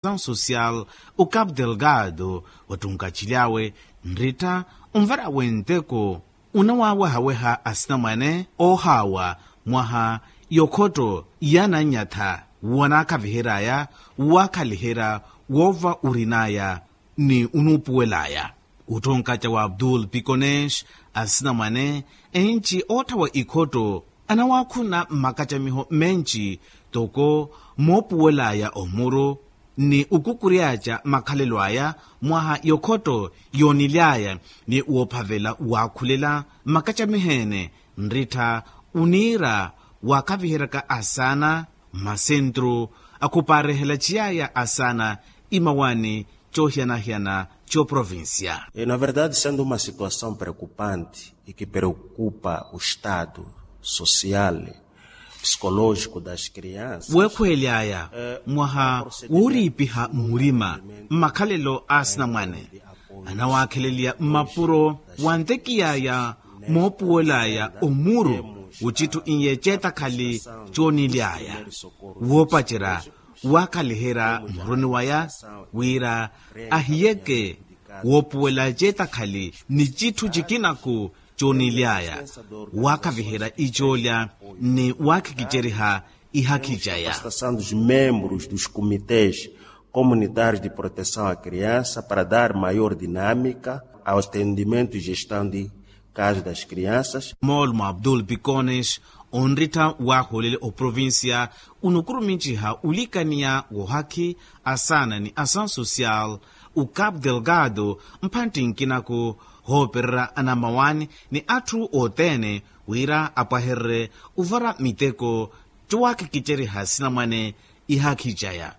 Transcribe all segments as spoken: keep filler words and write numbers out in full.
asansosial, ocapu delgado wattunkacily'awe nrittha onvara wenteko, onawawehaweha asinamwane oohaawa mwaha yokhotto yananyatha wanaakavihery'aya, wakhaliherya woova orin'aya ni onuupuwel'aya. Ottonkaca wa abdul pikonesh, asinamwane enci ootthawa ikhotto anawaakhuna mmakacamiho menci, toko moopuwel'aya omuru ni okukury'aca makhalelo aya mwaha yokhotto yoonily'aya, ni woophavela waakhulela mmakacamiho-ene nrittha oniira waakaviheryaka asaana mmasentru akhupaarehela ciyaya asaana imawaani coohiyana-hiyana c'oprovincia. Na verdade sendo uma situação preocupante e que preocupa o estado social psicológico das crianças. Weekhweely'aya mwaha wooriipiha murima mmakhalelo a asinamwane anawaakheleliya mmapuro wantekiy'aya moopuwel'aya omuru, ocitthu iye ceetakhali coonily'aya woopacerya waakhaliherya muruni waya wira ahiyeke woopuwela ceetakhali ni citthu cikinaku coonily'aya waakhaviherya icoolya ni waakhikiceriha ihakhi caya. Dos membros dos comités comunitários de proteção à criança para dar maior dinâmica ao atendimento e gestão de caso das crianças. Moolumo abdul pikonesh onrittha waahoolele oprovincia onukurumintiha olikaniya woohakhi asaana ni asansosial ocapu delgado mphantti nkinaku hoopererya anamawaani ni atthu othene wira apwahererye ovara miteko cowaakikiceriha sinamwane ihakhi caya.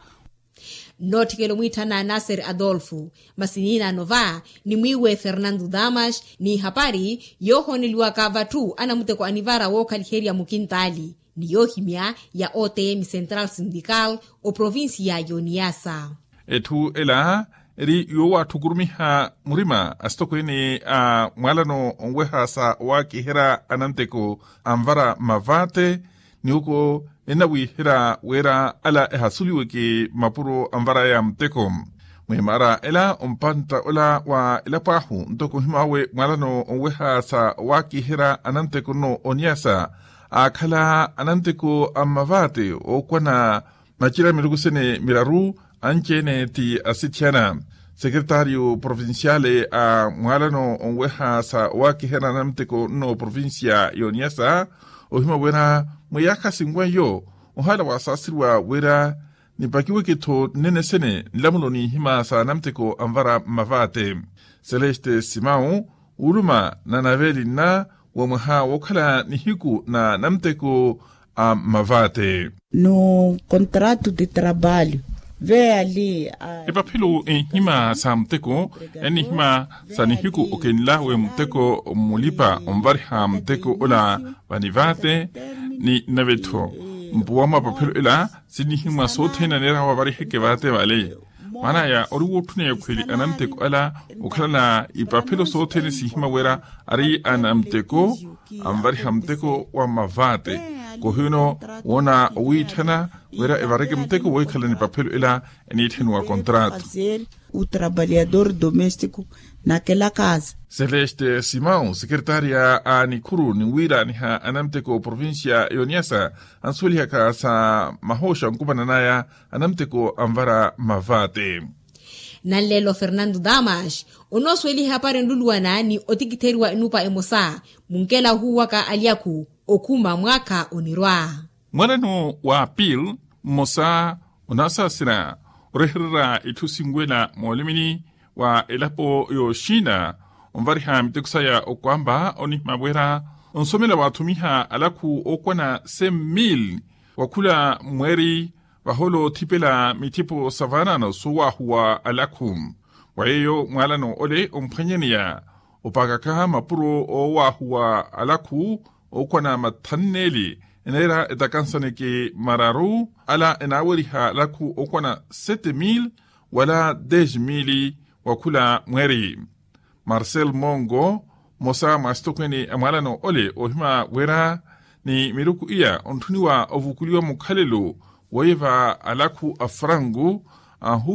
Nnootthikela omwiitthana nasser adolfo masi niinaano va ni mwiiwe fernando damas ni ihapari yoohooneliwaka vatthu anamuteko anivara wookhaliherya mukintaali ni yoohimya ya otm central syndical oprovincia y'oniyasa. Etthu ela eri yoowatthukurumiha murima asitokweene a mwaalano onweha sa owaakiherya ananteko anvara mavate ni oko ennawiiherya wira ala ehasuliweke mapuro anvaraya muteko. Mwimaara ela ompantta ola wa elapo ahu ntoko ohimawe mwaalano onweha sa owaakiherya ananteko nno oniyasa aakhala ananteko a mmavate ookwana macira miruku sene miraru anci-ene ti asithiyana. Sekeretario provinciale a mwaalano onweha sa owaakiherya anamuteko nno provincia y'oniyasa ohima wira mwiyaakha sinweiyo ohala waasaaseriwa wira nipakiweke-tho nnene sene nlamulo n'ihima sa anamuteko anvara mmavate. Celeste simau wuluma na nave linna wa mwaha wookhala nihiku na namuteko a mmavate. No contrato de trabalho veya li. Epaphelo enhima sa muteko ennihima sa nihiku okenlawe muteko mmulipa onvariha muteko ola vanivate ni nave-tho mpuwa mwa epaphelo ela sinnihimwa sothene aneera wavariheke vate vale. Maanaya ori wootthuna ekhweli anamuteko ala okhalana ipaphelo sothene sihima wira ari anamuteko anvariha muteko wa mavate. Kohiwino woona owiitthana wira evareke muteko wohikhala ni ipaphelo ela eniitthaniwa kontrato. O trabalhador doméstico naquela casa. Celeste simão sekeretaria a nikhuru ninwiiraaniha anamuteko provincia y'oniyasa ansuwelihaka sa mahooxa nkumananaya anamuteko anvara mavate. Nanleelo fernando damas onoosuweliha epari enluluwana ni otikitheriwa enupa emosa munkela ohuuwaka alyakhu okhuma mwaakha onirwa. Mwanano wa apil mmosa onaasaasira orehererya itthu sinwela moolimini wa elapo y'oxina onvariha miteko saya okwamba onihima wira onsomela waathumiha alakhu ookwana cem mil wakhula mweeri vahoolo othipela mithipo sa vaanano soowaahuwa alakhu. Wa yeeyo mwaalano ole omphwanyaneya opaakaka mapuro oowaahuwa alakhu ookwana mathanneeli eneera etakansaneke mararu ala enaaweriha alakhu ookwana sete mil wala des mil wakhula mweeri. Marcel mongo mmosa mwa asitokweene a mwaalano ole oohima wira ni miruku iya ontthuniwa ovukuliwa mukhalelo woyeva alakhu a frangu ahu